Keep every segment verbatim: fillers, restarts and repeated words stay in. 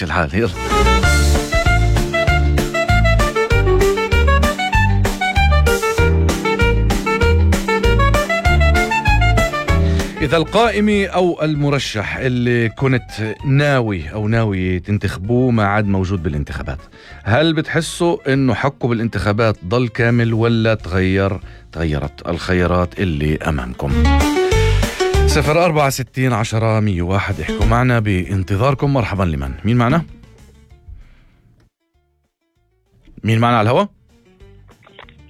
ماشي الحال. يلا إذا القائمي أو المرشح اللي كنت ناوي أو ناوي تنتخبوه ما عاد موجود بالانتخابات، هل بتحسوا إنه حقه بالانتخابات ضل كامل ولا تغير تغيرت الخيارات اللي أمامكم؟ صفر أربعة ستين عشرة مية واحد احكوا معنا بانتظاركم. مرحبا. لمن؟ مين معنا؟ مين معنا على الهواء؟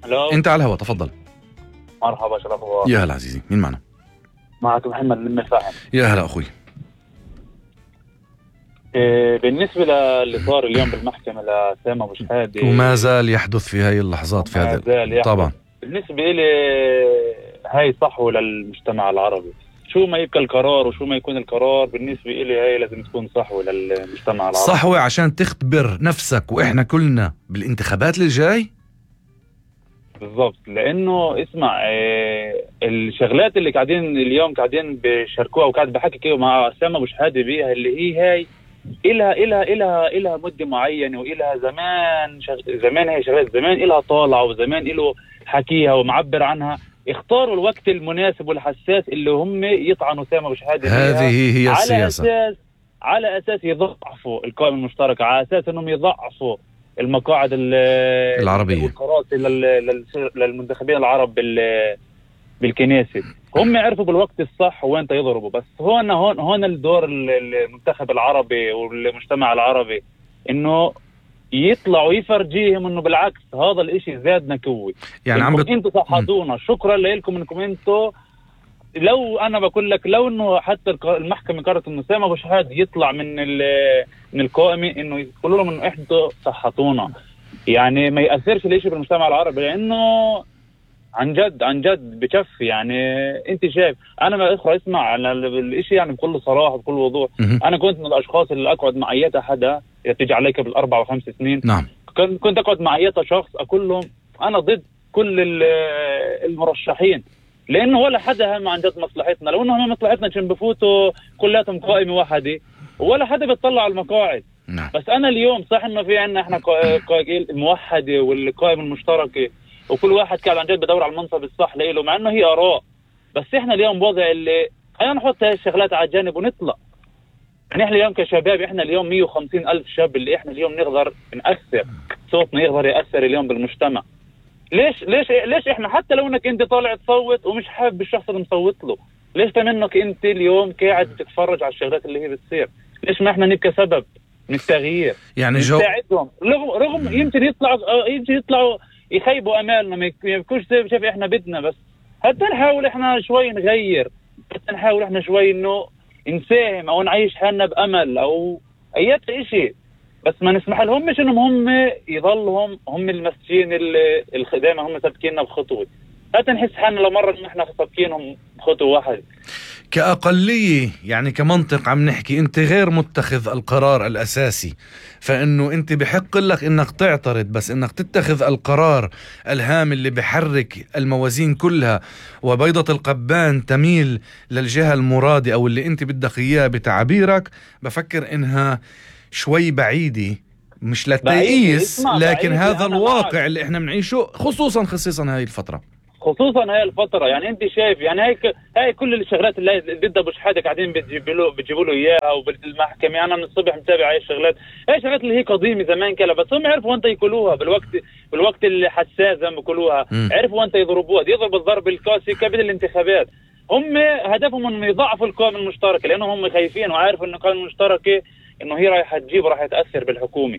هلو. أنت على الهواء، تفضل. مرحبا شرف الله. يا هلا عزيزي، مين معنا؟ معك محمد من الفاحم. يا هلا أخوي. إيه بالنسبة للي صار اليوم بالمحكمة لسامة أبو شحادة وما زال يحدث في هاي اللحظات في هذا طبعا. بالنسبة لي هاي صحوة للمجتمع العربي، شو ما يبقى القرار وشو ما يكون القرار بالنسبة لي هاي لازم تكون صحوة للمجتمع العربي. صحوة عشان تختبر نفسك وإحنا كلنا بالانتخابات اللي جاي. بالضبط، لأنه اسمع إيه الشغلات اللي قاعدين اليوم قاعدين بيشاركوها وقاعد بحكي كده مع سامة أبو شحادة بيها اللي هي هاي إلها إلها إلها إلها مدة معينة وإلها زمان شغ... زمان هي شغلات زمان إلها طالعة وزمان إله حكيها ومعبر عنها. اختاروا الوقت المناسب والحساس اللي هم يطعنوا سامة أبو شحادة هذه هي على السياسة. أساس على أساس يضعفوا القائمة المشتركة، على أساس أنهم يضعفوا المقاعد العربية والكراسي للمنتخبين العرب بالكنيسة. هم عرفوا بالوقت الصح وين يضربوا. بس هون هون هون الدور المنتخب العربي والمجتمع العربي انه يطلعوا يفرجيهم انه بالعكس هذا الاشي زادنا قوي. يعني عم بت... انتوا صحتونا، شكرا لكم انكم انتوا. لو انا بقول لك لو انه حتى المحكمة قررت انه سامة أبو شحادة يطلع من من القائمة انه يقولوا لهم انه احنا صحتونا، يعني ما يأثرش الاشي بالمجتمع العربي، لانه عن جد عن جد بكفي. يعني انت شايف انا ما اخرى اسمع على الاشي يعني بكل صراحة بكل وضوح. انا كنت من الاشخاص اللي اقعد مع اي حدا يتجي عليك بالاربع وخمس سنين. نعم. كنت كنت اقعد مع اي شخص اقول لهم انا ضد كل المرشحين، لانه ولا حدا هم عن جد مصلحتنا. لو انهم مصلحتنا كان بفوتوا كلاتهم قائمة واحدة ولا حدا بيطلع على المقاعد. نعم. بس انا اليوم صح انه في عنا احنا موحدة والقائمة المشتركة وكل واحد كان عن جد بدور على المنصب الصح له، مع انه هي اراء. بس احنا اليوم بوضع اللي خلينا نحط هاي الشغلات على الجانب ونطلع. يعني احنا اليوم كشباب احنا اليوم مية وخمسين الف شاب اللي احنا اليوم نقدر نأثر صوتنا يقدر يأثر اليوم بالمجتمع. ليش ليش ليش احنا حتى لو انك انت طالع تصوت ومش حابب الشخص اللي مصوت له، ليش تمنك انت اليوم قاعد تتفرج على الشغلات اللي هي بتصير؟ ليش ما احنا نبقى سبب من التغيير؟ يعني جو نساعدهم رغم رغم يمكن يطلعوا يمكن يطلعوا يخيبوا امالنا، ما يكونش شايف احنا بدنا. بس حتى نحاول احنا شوي نغير، حتى نحاول احنا شوي انه نساهم او نعيش حالنا بامل او اي شيء. بس ما نسمح لهم مش انهم هم يضلهم هم المسجين الخدامة هم سابقيننا بخطوة، حتى نحس حالنا لمرة ان احنا سابقينهم بخطوة واحدة كأقلية. يعني كمنطق عم نحكي انت غير متخذ القرار الأساسي، فإنه انت بحق لك انك تعترض، بس انك تتخذ القرار الهام اللي بحرك الموازين كلها وبيضة القبان تميل للجهة المرادة او اللي انت بدك اياه بتعبيرك، بفكر انها شوي بعيدة، مش للتأييس لكن هذا الواقع معك. اللي احنا بنعيشه خصوصا خصيصا هاي الفترة خصوصا هاي الفترة. يعني انت شايف يعني هاي هاي كل الشغلات اللي ضد ابو شحادة قاعدين بتجيبوا له بتجيبوا له اياها وبالمحكمة. يعني انا من الصبح متابع هاي الشغلات، هاي الشغلات اللي هي قديمة زمان كلا، بس هم عرفوا وانت يقولوها بالوقت بالوقت اللي حساس زي ما بيقولوها، عرفوا وانت يضربوها يضرب الضرب القاسي قبل الانتخابات. هم هدفهم انهم يضعفوا القائمة المشتركة لانهم هم خايفين وعارفوا ان القائمة المشتركة انه هي رايحة تجيب وراح تأثر بالحكومة.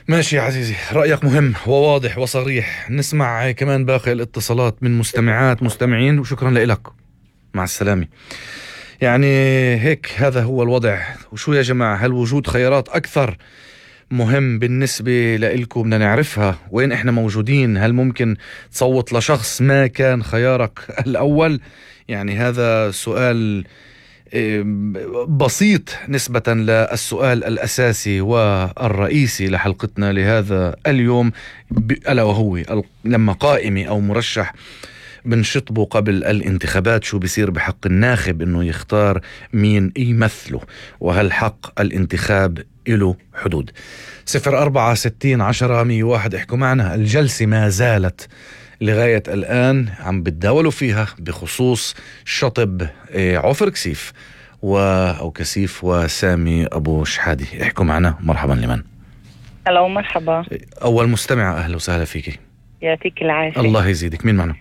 ماشي يا عزيزي، رأيك مهم وواضح وصريح. نسمع كمان باقي الاتصالات من مستمعات مستمعين وشكرا لك. مع السلامة. يعني هيك هذا هو الوضع. وشو يا جماعة، هل وجود خيارات أكثر مهم بالنسبة لإلكم؟ بدنا نعرفها وين إحنا موجودين. هل ممكن تصوت لشخص ما كان خيارك الأول؟ يعني هذا سؤال بسيط نسبة للسؤال الأساسي والرئيسي لحلقتنا لهذا اليوم، ألا وهو لما قائمي أو مرشح بنشطبه قبل الانتخابات شو بيصير بحق الناخب انه يختار مين يمثله، وهل حق الانتخاب له حدود؟ صفر أربعة ستين عشرة مية واحد احكوا معنا. الجلسة ما زالت لغاية الآن عم بتداولوا فيها بخصوص شطب عفر كسيف و... أو كسيف وسامي أبو شحادة. احكوا معنا. مرحبا. لمن؟ ألو مرحبا. أول مستمع، أهلا وسهلا فيكي. يعطيك العافية. الله يزيدك. مين معنا؟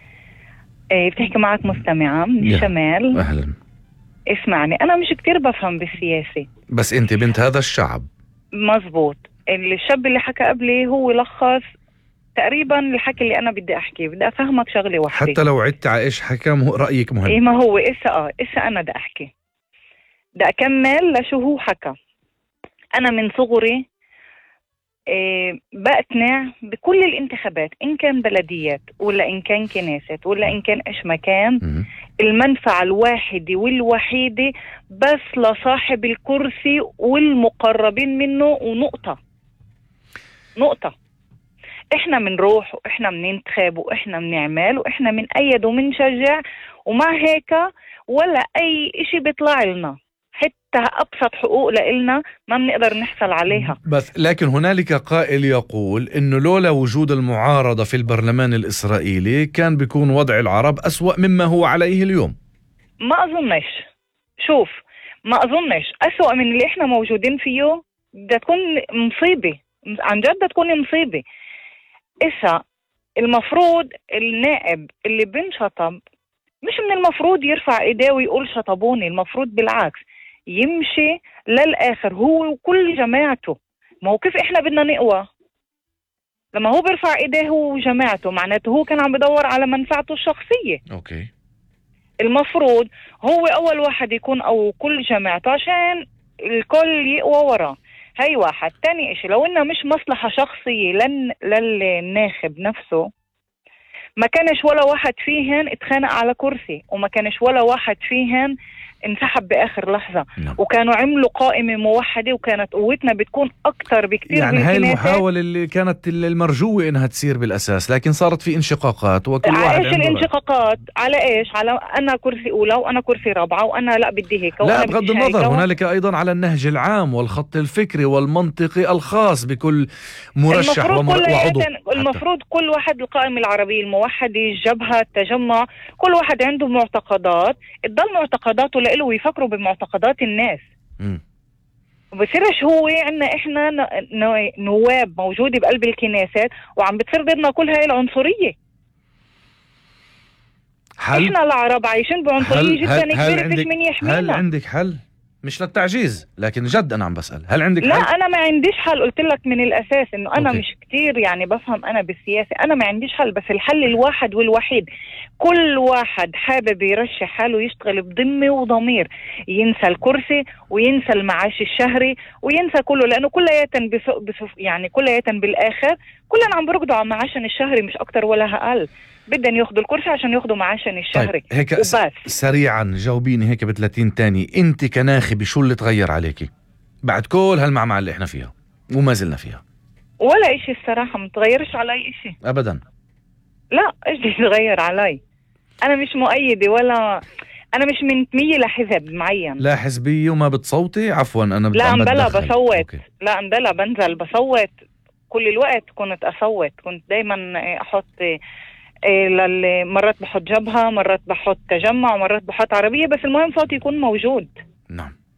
إيه بتحكي معك مستمعة من الشمال. أهلا. اسمعني، أنا مش كتير بفهم بالسياسة، بس أنت بنت هذا الشعب. مزبوط. الشاب اللي حكى قبلي هو لخص تقريبا الحكي اللي أنا بدي أحكي. بدي أفهمك شغلة واحدة، حتى لو عدت على إيش حكى رأيك مهم. إيه ما هو إسا آه إسا أنا بدي أحكي، بدي أكمل لشو هو حكى. أنا من صغري إيه بقتنع بكل الانتخابات، إن كان بلديات ولا إن كان كنيسة ولا إن كان إيش مكان، م- المنفعة الواحدة والوحيدة بس لصاحب الكرسي والمقربين منه، ونقطة نقطة. إحنا منروح وإحنا مننتخب وإحنا منعمل وإحنا منأيد ومنشجع، ومع هيك ولا أي إشي بيطلع لنا، حتى أبسط حقوق لإلنا ما بنقدر نحصل عليها. بس لكن هنالك قائل يقول إنه لولا وجود المعارضة في البرلمان الإسرائيلي كان بيكون وضع العرب أسوأ مما هو عليه اليوم. ما أظنش. شوف، ما أظنش أسوأ من اللي إحنا موجودين فيه. بدها تكون مصيبة، عن جد بدها تكون مصيبة. إسا المفروض النائب اللي بنشطب مش من المفروض يرفع إيديه ويقول شطبوني، المفروض بالعكس يمشي للآخر هو وكل جماعته. ما هو كيف إحنا بدنا نقوى لما هو بيرفع إيديه هو وجماعته؟ معناته هو كان عم بدور على منفعته الشخصية. أوكي. المفروض هو أول واحد يكون أو كل جماعته عشان الكل يقوى وراه. هاي واحد. تاني إشي، لو إنه مش مصلحة شخصية لن للناخب نفسه، ما كانش ولا واحد فيهن اتخانق على كرسي، وما كانش ولا واحد فيهن انسحب بآخر لحظة. نعم. وكانوا عملوا قائمة موحدة وكانت قوتنا بتكون أكتر بكتير. يعني هاي المحاولة اللي كانت المرجوة إنها تصير بالأساس، لكن صارت في انشقاقات وكل واحد على إيش عنده الانشقاقات؟ على إيش؟ على أنا كرسي أولى وأنا كرسي رابعة وأنا لا بدي هيك. لا، بغض النظر هنالك أيضا على النهج العام والخط الفكري والمنطقي الخاص بكل مرشح ومر... وعضو. المفروض كل واحد، القائمة العربية الموحدة، الجبهة، التجمع، كل واحد عنده معتقدات، تضل معتقداته لإله ويفكروا بمعتقدات الناس. م. وبصيرش هو عنا إحنا نواب موجودة بقلب الكنيسات وعم بتصير ضدنا كل هاي العنصرية. حل؟ إحنا العرب عايشين بعنصرية جدا كبيرة، فيش من يحمينا. هل عندك حل؟ مش للتعجيز لكن جد أنا عم بسأل، هل عندك لا حل؟ لا أنا ما عنديش حل. قلت لك من الأساس إنه أنا أوكي. مش كتير يعني بفهم أنا بالسياسة، أنا ما عنديش حل. بس الحل الواحد والوحيد، كل واحد حابب يرشح حاله يشتغل بضمة وضمير، ينسى الكرسي وينسى المعاش الشهري وينسى كله، لأنه كلياتن بسوق بسوق يعني كلياتن بالآخر كلنا عم برقدوا على معاشن الشهري، مش أكتر ولا أقل. بدن ياخدوا الكرسي عشان ياخدوا معاشن الشهري. طيب هيك وبس. سريعا جاوبيني هيك بثلاثين تاني، انت كناخبة شو اللي تغير عليكي بعد كل هالمعمعة اللي احنا فيها وما زلنا فيها؟ ولا اشي الصراحة، متغيرش علي اشي ابدا. لا، ايش بدي يتغير علي؟ انا مش مؤيدة ولا انا مش منتمية لحزب معين. لا حزبية وما بتصوتي؟ عفوا انا لا امبلا بدخل. بصوت. أوكي. لا امبلا بنزل بصوت كل الوقت. كنت اصوت، كنت دايما احط إيه للي مرات بحط جبهة، مرات بحط تجمع، ومرات بحط عربية، بس المهم صوتي يكون موجود. نعم.